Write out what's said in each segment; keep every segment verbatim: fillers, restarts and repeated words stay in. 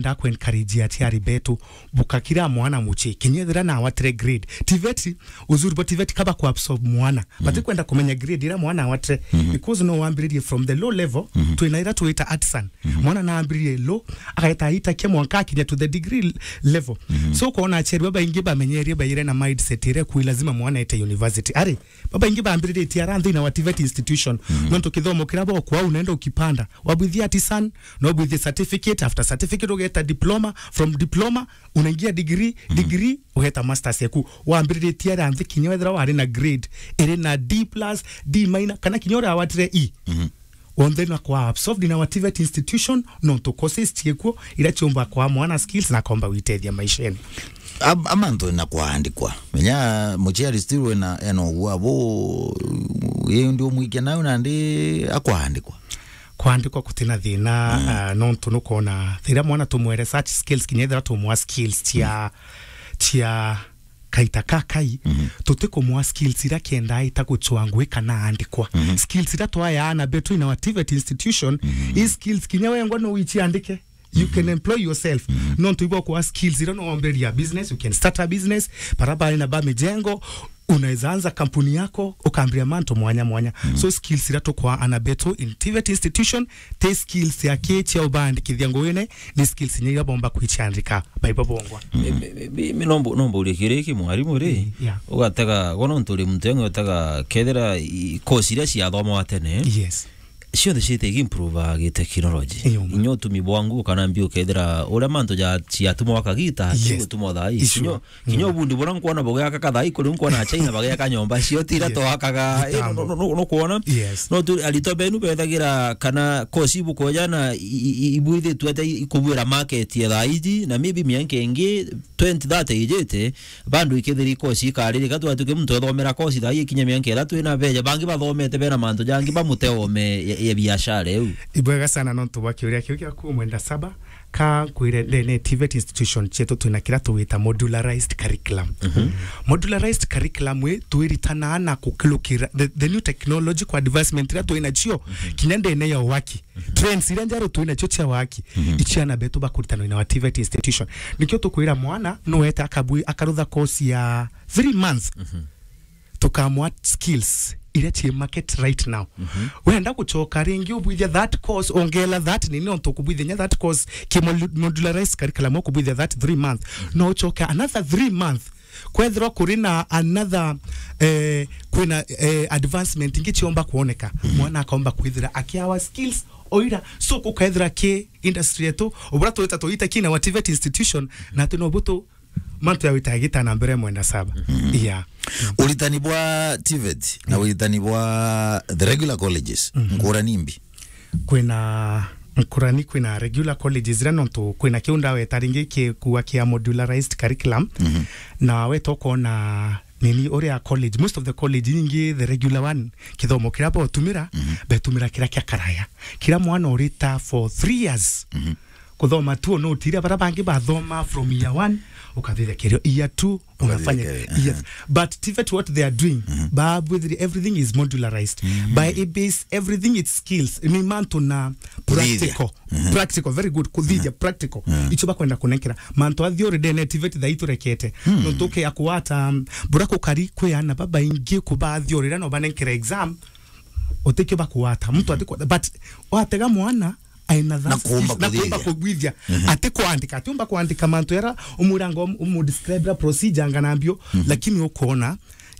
Ndaku encourage aciari betu, buka kira mwana mucii, kinya ethira na awatire grade. TVET, uzuri bwa TVET kaba ku absorb mwana. Bati kwenda kumenya grade ira mwana awatire. Because no wambiririe from the low level, twina ira twita artisan. Mwana na ambiririe low, agaeta aitakia mwanka akinya to the degree level. So, ukoona aciari babaingi bamenyerie baire na mindset ire ku lazima mwana ete university. Ari, babaingi bambiriritie ara nthina wa TVET institution. Nontu kithomo kira bokwa unenda ukipanda. Wabwithia artisan, no bwithie certificate, after certificate ugeta diploma, from diploma, unaingia degree, degree, ugeta masters yaku. Wambiriritie ara nthi kinya wethira wari na grade iri na D plus, D minor, kana kinya uria awatire E. Wonthe na kwa absorbed in our TVET institution, nontu courses ciekuo, ira ciumba kwa mwana skills na komba gwitethia maishene. Am-, amantu na kwaandikwa. Menya muciari still ena, ena ugwa bo, ye ndi umwikia nayo nandi akwaandikwa. Kwaandikwa kutina thina, ah, nontu nukwona, thira mwana tumwere such skills, kinya ethira tumwa skills cia, cia kaita ka kai, tutikumwa skills ira kenda aita gucwa ngui kana aandikwa. Skills ira twayaana betu in our TVET institution, i skills kinya wengwa no wiciandike. You can employ yourself. Nontu ibwa kwa skills ira no wambiria business, you can start a business, bara bari na ba mijengo, unaweza anza kampuni yako, ukambiria mantu mwanya mwanya. So skills ira tukwa ana betu in TVET institution, ti skills ya ki cia ubandikithia nguine, ni skills inya iria bomba kwiciandika baibo bongwa. Mi, mi, mi, mi, mi nombo, nombo urie kiri ki mwarimu ri? Yeah. Ugatega, gwa nontu uri muntu yangu ugatega kethira i, course iria ciathomwa tene. Yes. Cionthe ciite improve gi technology. Iyo ma. Inya utumi bwa nguu kana mbi ukethira uria mantu ja, ciatumwa kagita, yes, tigutuma thaa ii. Issue. Inya, kinya ubundi bura nkwona bugiaka kathai kuri nkwona China bagiaka nyomba cio tira, yes, twakaga, eh, no, no, no, no, no kwona. Yes. No tu aritwa benu bethagira kana course ibukoja na i-, i-, i-, ibwithitwe ata i-, ikubwira market ya thaa iji na maybe mianka ingi twenty thirty ijite, bandu ikethiri course ikaririka twatuke muntu ethomera course thaa ii ikinya mianka ithatu ina beja, bangi bathomete bena mantu jangi bamuteome ya, ya biashara iu. Ibwega sana nontu bwa kiuria kiu giaku mwenda saba. Ka nkwire, ndene TVET institution cietu twina kira tugwita modularized curriculum. Modularized curriculum wi twiritanaa na kukilukira the, the new technological advancement iria twina cio kinya ndene ya waki. Trends iria njeru twina cio cia waki, icio ana betu bakuritanwa na wa TVET institution. Nikio tukwira mwana no ete akabwi-, akarutha course ya three months. Tukamwa skills iria ci market right now. Wenda gucoka ringi ubwithia that course, ongela that nini, onto kubwithia nya that course ki molu-, modularized curriculum, ukubwithia that three months. No ucoke another three months, kwethirwa kuri na another, eh, kwina, eh, advancement ingi ciomba kuoneka. Mwana akomba kwithira akiawa skills oira. So, kukethira ki industry yetu, ubura twita tuita kina wa TVET institution, na ati no butu mantu ya wita gita na mbere mwenda saba. Yeah. Uritani bwa TVET na uritani bwa the regular colleges, nkurani mbi? Kwina nkurani, kwina regular colleges ira nontu kwina kiu ndaweta ringi kikuwa kia modularized curriculum. Na weta ukona nini uria college, most of the college nyingi, the regular one, kithomo kira botumira, betumira kira kia karaya. Kira mwana urita for three years. Kuthoma tu no utira bara bangi bathoma from year one, ukathithia kerio year two, unafanya year three. But TVET, what they are doing, ba with everything is modularized. By A B S, everything is skills. Ni mantu na practical. Practical, very good. Kuthithia practical. Icho bakwenda kunenkera. Mantu a theory ndene TVET thaa iturekete. No tuke ya kuwata, um, bura kukari kwi ana babaingi kuba theory, ira no banenkera exam, utikio bakuwata. Mtu ati kwa-, but watega mwana, aina na that kuumba skill, na kuumba kuthithia. Kugwithia. Ati kwandika, ati umba kwandika mantu yara umuranga um-, umudescribe procedure ngana mbio, lakini ukona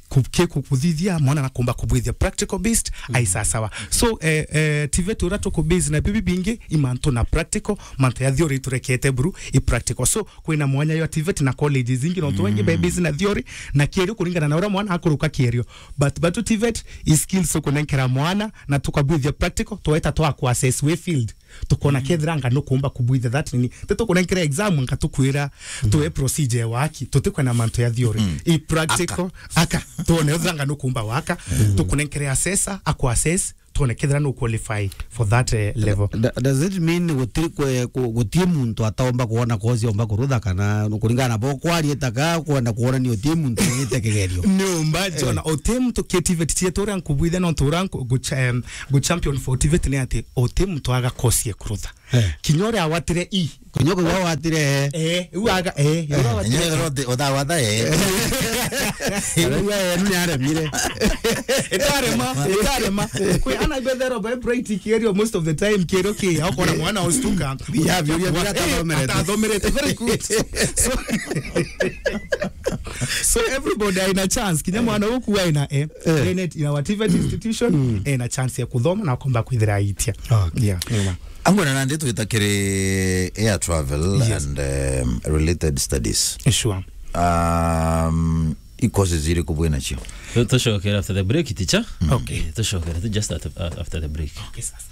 ku-, ke ku-, kuthithia mwana na kuumba kubwithia practical based, ai sawa sawa. So, eh, eh, TVET ura tuku base na bibi bingi, i mantu na practical, mantu ya theory turekete buru, i practical. So, kwina mwanya yo TVET na colleges ingi, nontu wengi be base na theory, na kierio kuringana na ura mwana akuruka kierio. But, but TVET i skills ukunenkera mwana, na tukabwithia practical, tweta twa ku assess we field. Tukona kethira nga nukumba kubwithia that nini. Te tukunenkera exam nga tukwira tuwe procedure waki, tutikwena mantu ya theory. I practical, aka. Tuone ethira nga nukumba waka, tukunenkere assessor, aku assess, tuone kethira no qualify for that, eh, level. Da-, does it mean guti-, kwe-, ku-, guti muntu ataomba kuona kozi omba kurutha kana kuringana na bo kwarieta ka kwenda kuonania uti muntu ugite kigerio? Ni umba jona, uti muntu ki TVET cietu uria nkubwithia no ntu uria nku-, gu cha-, em, gu champion for TVET ni ati uti muntu aga kozi e kurutha. Eh. Kinya uria awatire i. Kinya uria awatire, eh. Eh, uaga, eh, uria awatire. Kinya uria uthi-, uthawatha, eh. Arauga, eh, ni aremire. Itarema, itarema. Kwi ana ibethero by bright kigerio most of the time, kigerio ki, okona mwana ostuka. Ya, biuria, biuria, eh, atathomerete. Atathomerete. Very good. So, so everybody aina chance. Kinya mwana uku aina, eh. Eh. Ena, in our T V E T institution, ena chance ya kuthoma na akomba kwithira aitia. Okay. Yeah. Yeah. Angwona nandi twita kiri air travel, yes, and, um, related studies. Sure. Um, i courses iriku bwina cio? Tu-, tucokere after the break, teacher. Okay. Eh, tucokere tu just at, uh, after the break. Okay, sasa.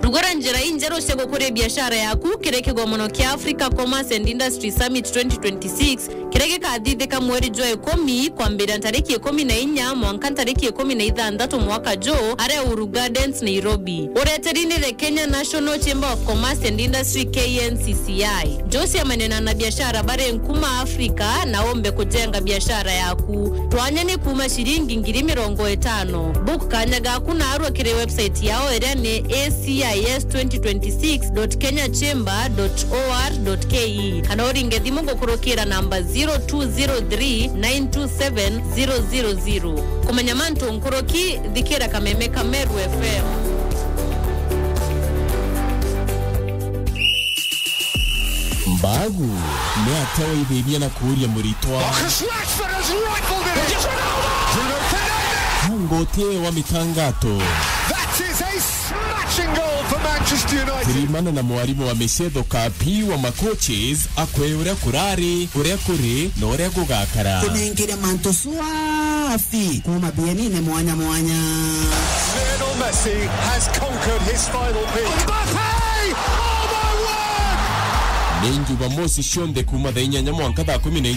Rugura njira injeru cia gukuria biashara yaku kiri kigomono kia Africa Commerce and Industry Summit twenty twenty-six, kiria gikathithika mweri jwa ikumi, kwambiria ntariki ikumi na inya mwanka ntariki ikumi na ithanthatu mwaka juu, aria Uhuru Gardens, Nairobi. Ureteri ni the Kenya National Chamber of Commerce and Industry, K N C C I. Josia manena na biashara bari nkuma Afrika na umbe kujenga biashara yaku. Twanya ni kuma ciringi ngiri mirongo itano. Book kanya gaku na arua kiri website yao iria ni A C I S twenty twenty-six dot kenya chamber dot O R dot K E, kana uringe thimu gukurukira namba zero two zero three nine two seven zero zero zero. Kumenya mantu nkuruki, thikira kameme ka Meru F M. Mbagu ni atia waithithia na kuuria muritwa? Marcus Rashford has rifled it. Bruno Fernandes. Hango tie wa mitangato. That is a smashing goal for Manchester United. Kirimana na mwarimu wa micetho Kapi wa macoaches, akwe uria kurari, uria kuri, na uria gugakara. Kunengire mantu swafi kuma bienine mwanya mwanya. Lionel Messi has conquered his final pitch. Mbappe! Oh my word! Ni Jumamosi cionthe kuma thaa inyanya mwanka thaa kumi na